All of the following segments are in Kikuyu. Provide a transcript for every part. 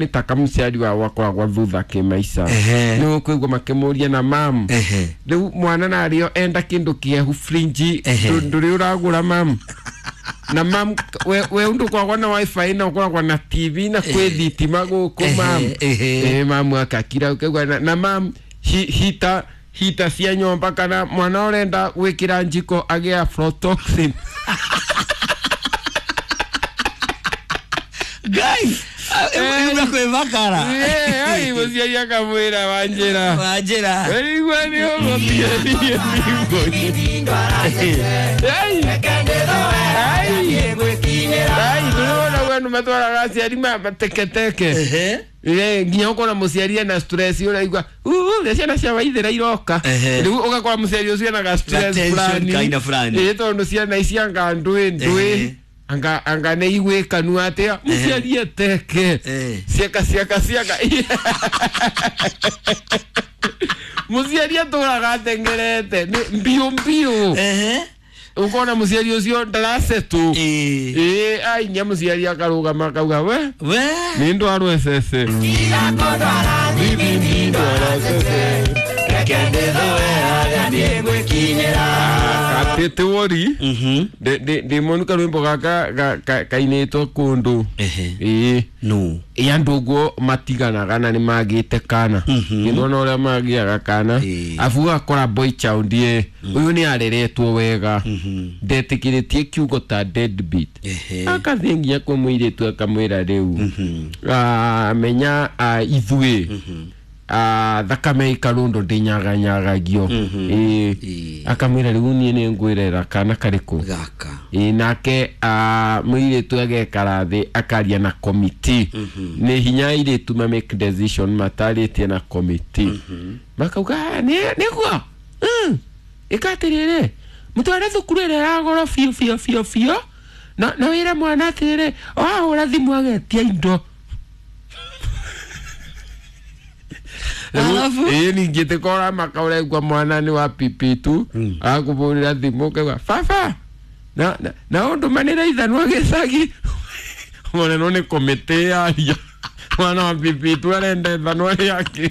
Nĩ ta kamũciari wao akoragwo thutha kĩmaica. Nĩ ũkũigua makĩmũria na mamu. Rĩu mwana narĩo enda kĩndũ kĩehu frinji ndũrĩ ũragũra mamu. Na mamu we undu kwagwa na wifi na ũkoragwo na TV na kwĩ thitima gũkũ mamu. Mamu akakira ũkaigua na mamu hita hita cia nyomba kana mwana ũrenda gwĩkĩra njiko agĩa aflatoxin. Guys, kwĩmakara. Ai mũciari akamwĩra Wanjĩra. Wanjĩra. Weigua nĩ ũgũthiĩ ndũrĩwona ũguo andũ matwaraga aciari mateketeke. Nginya ũkona mũciari ena stress ũraigua ũrĩa ciana cia Waithĩra iroka. Rĩu ũgakora mũciari ũcio ena ga stress fulani. Tondũ ciana ici anga ndũĩ ndũĩ. Anga anga nĩ igwĩkanua atĩa mũciari eteke. Ciaka ciaka ciaka. Mũciari atũraga atengerete nĩ mbiũ mbiũ. Ukona mũciari ũcio ndarasetũ. Ai nya mũciari akarũgama akauga we nĩ ndwarwo ecece. Atĩte wori ndĩ monu karwĩmbo gaka kainĩtwo kũndũ. No. Ĩ andũ ũguo matiganaga na nĩ magĩte kana. Nĩndona ũrĩa magĩaga kana. Abu ũgakora boy child ĩ ũyũ nĩ areretwo wega. Ndetĩkĩrĩtie kiugo ta deadbeat. Akathiĩ nginya kwĩ mũirĩtu akamwĩra rĩu. Menya ithuĩ thakame ĩkarũndo ndĩnyaganyagagio. Akamwĩra rĩu niĩ nĩ ngwĩrera kana karĩkũ. Gaka. Nake mũirĩtu agekara thĩ akaria na committee. Nĩ hinya airĩtu ma make decision matarĩtie na committee. Makauga nĩguo ĩka atĩrĩrĩ mũtware thukuru ĩrĩa ya goro biũ biũ biũ biũ na wĩre mwana atĩrĩrĩ wahũra thimũ agetia indo. Alafu ningĩ tĩkora maka ũraigua mwana nĩ wa pipi tu akũbũrĩra thimũ ũkaigua baba na ũndũmanĩre ithanwa gĩcagi. Mwana no nĩ komĩtĩ yaria mwana wa pipi tu arenda ithanwa rĩake.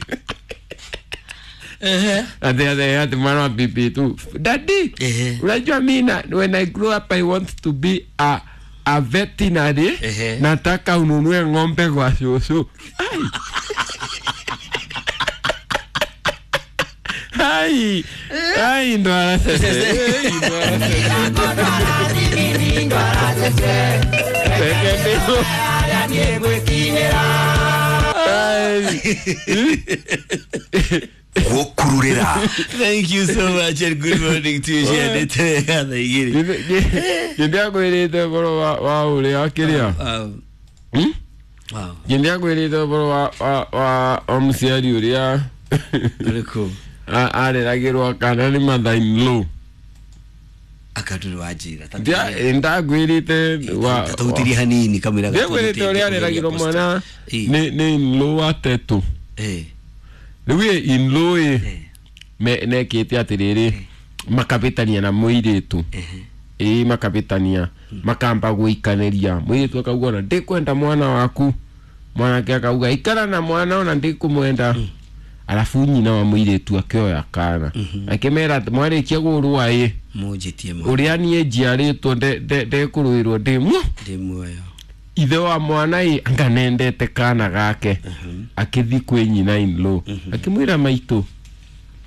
Ati ati mwana wa pipi tu daddy, unajua mimi when I grow up I want to be a veterinary. Nataka ununue ng'ombe kwa shosho. Ai, ai, ndwara sese. Wokururera. Thank you so much and good morning to you. Ngindiakwĩrĩte ũhoro wa ũrĩa kĩrĩa. Ngindiakwĩrĩte ũhoro wa mũciari ũrĩa areragĩrwo kana nĩ mother in law. Akatũrĩ wa njĩra. Ndakwĩrĩte tũhutirie hanini kamwĩra. Ndiakwĩrĩte ũrĩa areragĩrwo mwana nĩ in law wa tetũ. Rĩu in law ĩ nekĩte atĩrĩrĩ makabĩtania na mũirĩtu. Makabĩtania makamba gũikanĩria mũirĩtu akauga ona ndĩkwenda mwana waku. Mwanake akauga ikara na mwana ona ndĩkũmwenda. Alafu nyina wa mũirĩtu akĩoya kana akĩmera mwarĩkia gũrũa ĩ mũnjĩtie ũrĩa niĩ njiarĩtwo ndekũrũĩrwo ndĩ muoyo. Ithe wa mwana ĩ anga nendete kana gake akĩthiĩ kwĩ nyina in law akĩmwĩra maitũ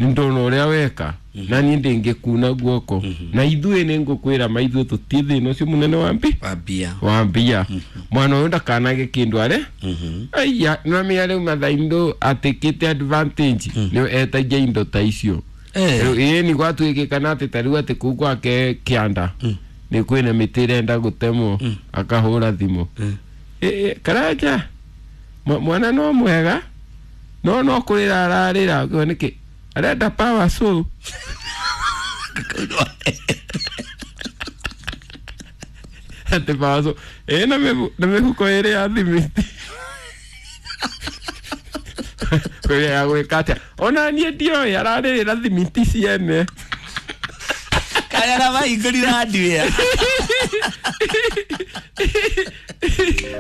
nĩ ndona ũrĩa weka na niĩ ndĩngĩkuna guoko na ithuĩ nĩ ngũkwĩra maithuĩ tũtiĩ thĩna ũcio mũnene wa mbia wa mbia mwana ũyũ ndakanage kĩndũ are aiya nĩwamenya rĩu mathaindo atĩkĩte advantage nĩ etagia indo ta icio. Ĩĩ nĩ gwatuĩkĩkana atĩ ta rĩu atĩ kũu gwake kĩanda nĩ kwĩna mĩtĩ ĩrenda gũtemwo akahũra thimũ. Karanja mwana no mwega no no kũrĩra ararĩra nĩkĩ arenda power saw. Ate power saw na mĩhuko ĩrĩ ya thimiti. Kũrĩa ya gwĩka atĩa ona niĩ ndioĩ ararĩrĩra thimiti ciene. Kaya na mahingũrire hardware.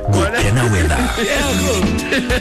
Gukena wetha.